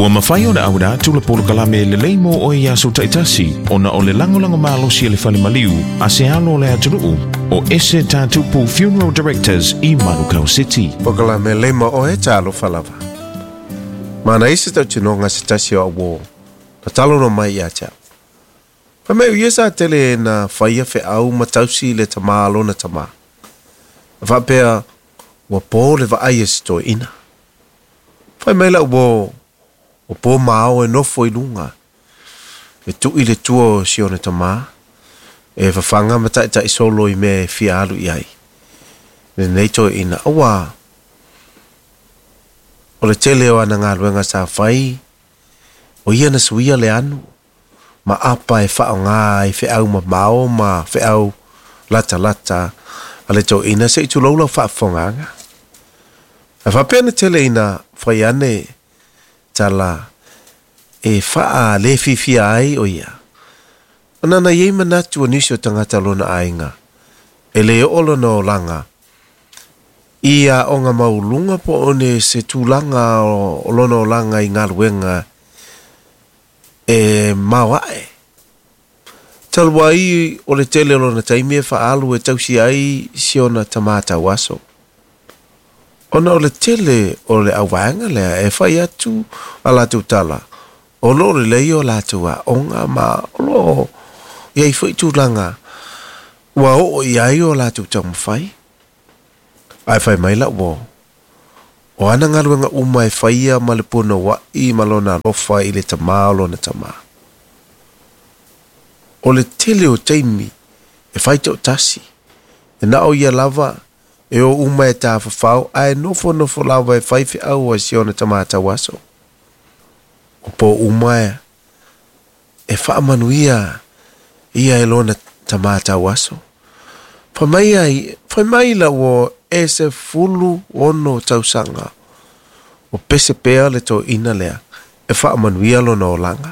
Ua mafai ona auina atu le polokalame lelei mo oe i aso taitasi ona o le lagolago malosi a le Fale Maliu a se alo o le atunuu o Ese Tatupu Funeral Directors i Manukau City. Polokalame lelei mo oe talofa lava. Manaia se tautinoga se tasi o au uō na talanoa mai ia te au. Fai mai o ia sa tele na faia feau ma tausi i le tamā a lona tamā. Na faapea ua po le vaai a si toeaina. Fai mai lau uō, o po ma ao e nofo i luga, e tui le tua o si ona tamā, e fafaga ma taitai solo i mea e fia alu i ai lenei toeaina. Auā, o le tele o ana galuega sa fai, o ia na suia le anu ma apa e faaaoga ai feau mamao ma feau latalata a le toeaina se i tulou lau faafofogaaga. Ae faapea na tele ina fai ane tala e faa-le-fiafia ai o ia, ona na i ai manatu o nisi o tagata o lona aiga e le oo lona olaga i aoga maualuluga po o ne se tulaga o lona olaga i galuega e maoae. Talu ai o le tele o lona taimi e faaalu e tausi ai si ona tamā tauaso. Ona o le tele o le auvaega lea e fai atu a latou tala, o lo o lelei o latou aoga ma o lo o i ai foi tulaga ua oo i ai o latou taumafai. Ae fai mai lau uo, o ana galuega uma e faia ma le punouai ma lona alofa i le tamā o lona tamā. O le tele o taimi e fai toatasi, e na o ia lava e o uma e tafafao ae nofonofo lava e fai feau a si ona tamā tauaso. O po uma e faamanuia ia e lona tamā tauaso. Fai mai ai, fai mai lau uo e 16 tausaga o pese pea le toeaina lea e faamanuia lona olaga.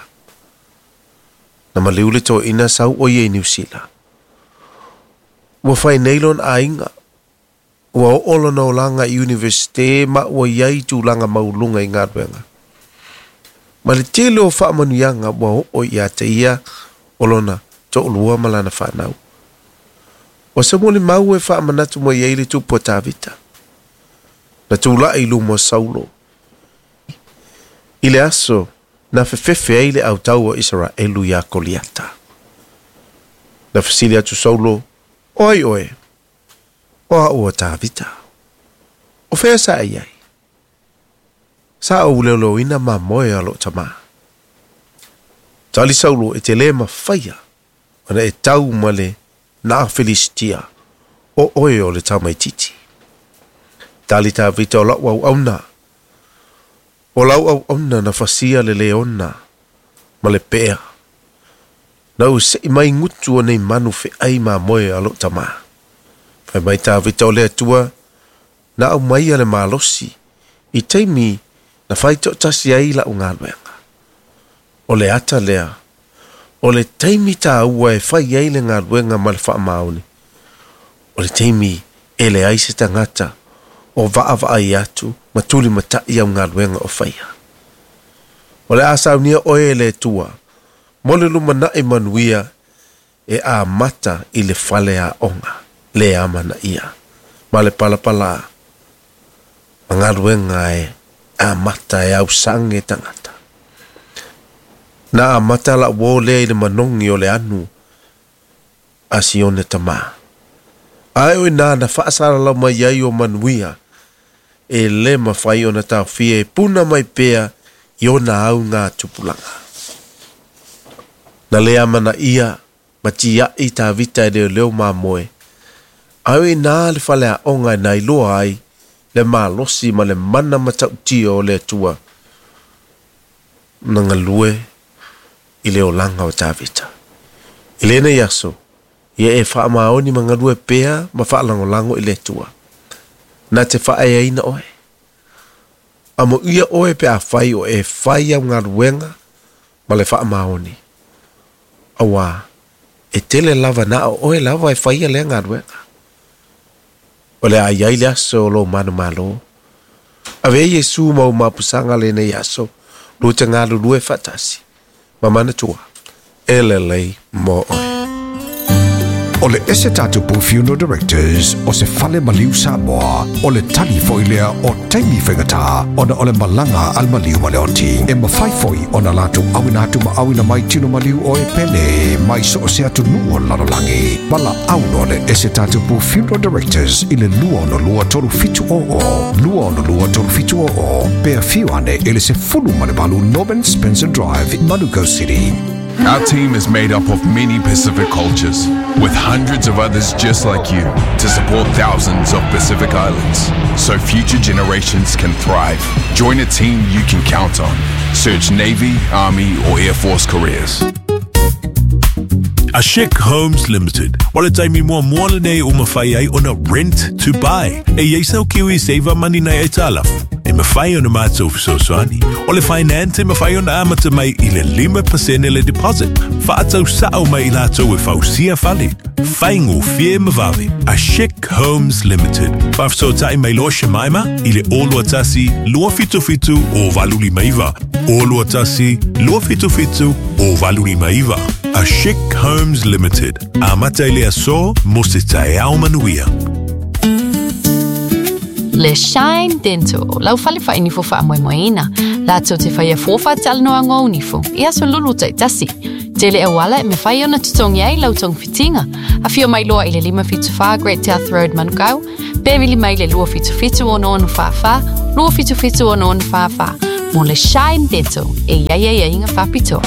Na maliu le toeaina sau o ia i Niu Sila. Ua fai nei lona aiga, ua oo lona olaga i Universite ma ua i ai tulaga maualuluga i galuega. Ma le tele o faamanuiaga ua oo ia te ia o lona toalua ma lana fanau. O se molimau e faamanatu mai ai le tupu a Tavita, na tulai i luma o Saulo i le aso na fefefe ai le autau o Isaraelu iā Koliata. Na fesili atu Saulo, O ai oe? O au o Tavita. O fea sa e i ai? Sa ou leoleoina mamoe a lou tamā. Tali Saulo, E te lē mafaia ona e tau ma le na Filisitia, o oe o le tamaitiiti. Tali Tavita, O la'u auauna, o lau auauna na fasia le leona ma le pea. Na ou se'i mai gutu o nei manu fe'ai mamoe a lo'u tamā. Fai mai Tavita, O le Atua na aumaia le malosi i taimi na fai to'atasi ai la'u galuega. O le ata lea, o le taimi tāua e fai ai le galuega ma le faamaoni, o le taimi e leai se tagata o vaavaai atu ma tulimataʻi au galuega o faia. O le a saunia oe e le Atua mo le lumanai manuia e amata i le fale aoga le amanaia ma le palapala ma galuega e amata e ausage tagata. Na amata la'u uō lea i le manogi o le anu a Sione tamā. Ae o inā na faasalalau mai ai o manuia e lē mafai ona taofia e puna mai pea i ona au ngā tupulaga. Na le amanaia ma tiaʻi Tavita e leoleo mamoe, ae o inā le faleaoga e nailoa ai le malosi ma le mana matautia o le Atua na galue i le olaga o Tavita. I lenei aso, ia e faamaoni ma galue pea ma faalagolago i le Atua, na te faaeaina oe. Amoia oe pe afai o e fai au galuega ma le faamaoni, auā e tele lava na o oe lava e faia lea galuega. O le a i ai le aso o lou manumalo. Avea Iesu ma ou mapusaga lenei aso Lua te galulue faatasi ma manatua e lelei mo oe. O le Ese Tatupu Funeral Directors o se fale maliu Samoa, o le tali foi lea o taimi faigata ona o le malaga a le maliu ma le oti. E mafai foi ona latou auina atu ma auina mai tino maliu o e pele mai so o se atunuu o le lalolagi. Valaau loa le Ese Tatupu Funeral Directors i le 262 3700, 262 3700, pe afio ane i le 18 Norman Spencer Drive, Manukau City. Our team is made up of many Pacific cultures, with hundreds of others just like you to support thousands of Pacific Islands so future generations can thrive. Join a team you can count on. Search Navy, Army, or Air Force careers. A Chic Homes Limited. O le taimi muamua lenei ua mafai ai ona rent to buy. E i ai sau kiwi saver money nai aitalafu. E mafai ona matou fesoasoani. O le finance e mafai ona amata mai i le 5% le deposit. Faatau sao mai i latou e fausia fale. Faigofie ma vave. A Chic Homes Limited. Faafesootai mai loa Shemaima i le 021 277 0859. 021 277 0859. A Chic Homes Limited. Amata i le aso mo se taeao manuia. Le Shine Dental, lau fale faainifo faamoemoeina. Latou te faia fua faatalanoaga o nifo i aso lulu taitasi. Tele auala e mafai ona totogi ai lau togafitiga. Afio mai loa i le 574 Great South Road Manukau, pe vili mai le 277 6644, 277 6644 mo le Shine Dental e i ai aiaiga faapitoa.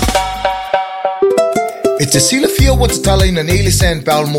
E te silafia ua tatalaina nei le sandbell mo